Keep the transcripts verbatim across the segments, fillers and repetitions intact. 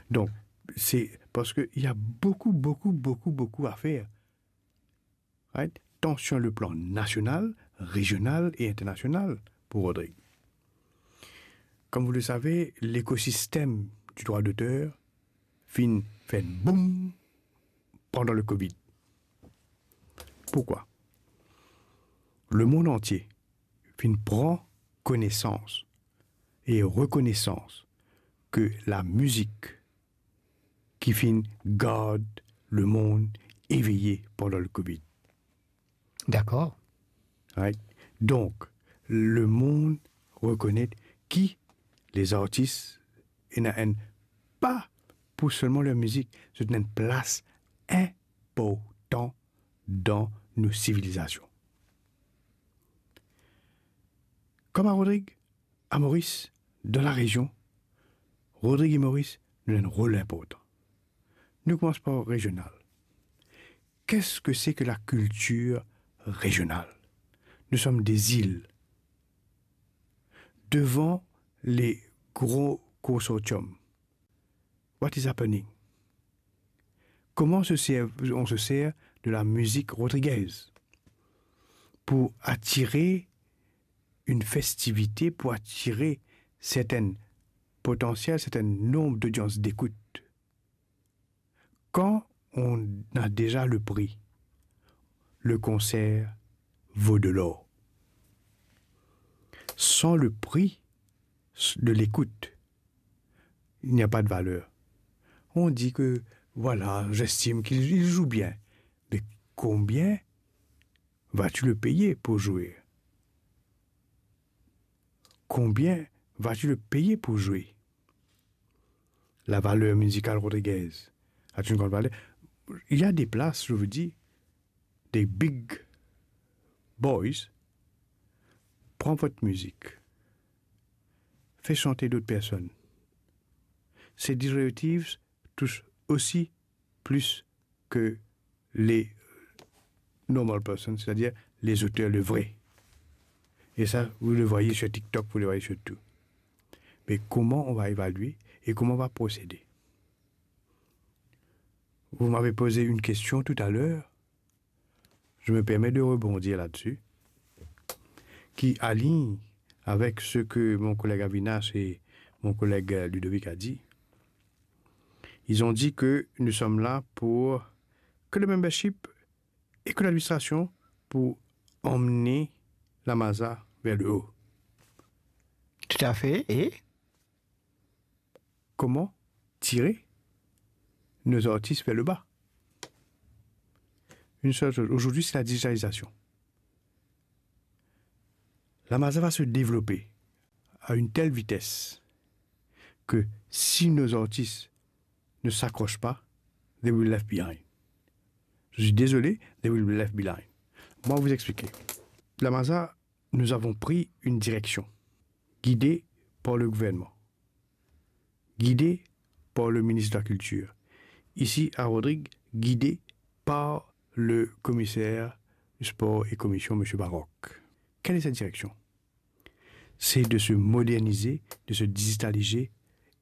Donc, c'est parce qu'il y a beaucoup, beaucoup, beaucoup, beaucoup à faire. Right? Tant sur le plan national, régional et international pour Rodrigue. Comme vous le savez, l'écosystème du droit d'auteur finn fer boum pandan le covid. Pourquoi? Le monde entier finn pran connaissance et reconnaissance que la musique ki finn gard le monde éveillé pandan le covid. Dakor. Right? Donc, le monde reconnaît que les artistes, ena enn, pas pour seulement leur musique, c'est une place importante dans nos civilisations. Comme à Rodrigue, à Maurice, dans la région, Rodrigue et Maurice, nous avons un rôle important. Nous commençons par régional. Qu'est-ce que c'est que la culture régionale? Nous sommes des îles. Devant les gros consortiums, what is happening? Comment se sert, on se sert de la musique rodriguaise pour attirer une festivité, pour attirer certaines potentiel, c'est un nombre d'audiences d'écoute. Quand on a déjà le prix, le concert vaut de l'or. Sans le prix de l'écoute, il n'y a pas de valeur. On dit que, voilà, j'estime qu'il, il joue bien. Mais combien vas-tu le payer pour jouer? Combien vas-tu le payer pour jouer? La valeur musicale rodriguaise a une grande valeur. Il y a des places, je vous dis, des big boys, prends votre musique, fais chanter d'autres personnes. Ces directives touchent aussi plus que les normal persons, c'est-à-dire les auteurs, le vrai. Et ça, vous le voyez sur TikTok, vous le voyez sur tout. Mais comment on va évaluer et comment on va procéder? Vous m'avez posé une question tout à l'heure. Je me permets de rebondir là-dessus, qui aligne avec ce que mon collègue Avinash et mon collègue, euh, Ludovic a dit. Ils ont dit que nous sommes là pour que le membership et que l'administration pour emmener la Maza vers le haut. Tout à fait. Et comment tirer nos artistes vers le bas? Une seule chose. Aujourd'hui, c'est la digitalisation. La Maza va se développer à une telle vitesse que si nos artistes ne s'accrochent pas, they will be left behind. Je suis désolé, they will be left behind. Moi, vous expliquer. La Maza, nous avons pris une direction, guidée par le gouvernement, guidée par le ministre de la Culture. Ici, à Rodrigues, guidée par le commissaire du sport et commission, monsieur Baroque. Quelle est cette direction? C'est de se moderniser, de se digitaliser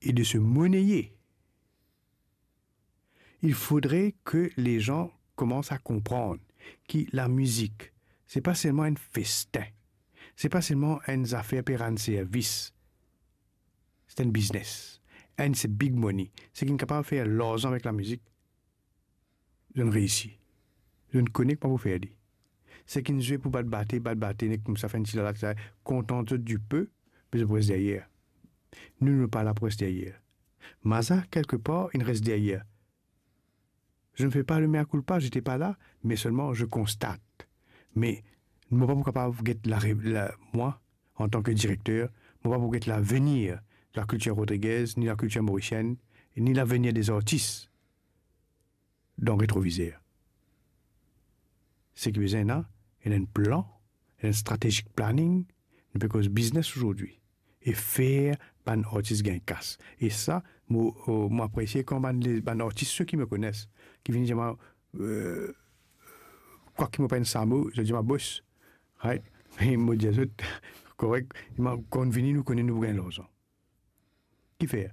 et de se monnayer. Il faudrait que les gens commencent à comprendre que la musique, c'est pas seulement un festin, c'est pas seulement une affaire pour rendre service, c'est un business, and c'est big money. Seki inn kapav fer larzan avek lamizek, zot inn reisi. Zot inn kone kouma pou fer li. Seki inn zwe pou bat bate, bat bate, nek koumsa, fer enn ti lala, etsetera. Kontant zot dipe, me zot pou res deryer. Nou, nou pa la pou res deryer. Maza, quelque part, inn res deryer. Je ne fais pas le mea culpa, j'étais pas là, mais seulement je constate. Me mo pa pou kapav get la, la, mwa, antan ki direkter, mo pa pou get lavenir de la kiltir rodrigaise, ni la kiltir morisienne, ni lavenir des artis dan retrovizer. Seki bizin ena, ena enn plan, ena enn strategic planning, nou pe koz biznes azordi e fer bann artis gagn kas. E sa, mo, mo apresie kan bann, le, bann artis, seki mo kone, ki vinn dir mwa, euh, kwak mo pa enn samo, zot dir mwa, "Bos," right? Me mo dir zot, "Korek, me kan vini, nou kone nou pou gagn larzan." Kifer?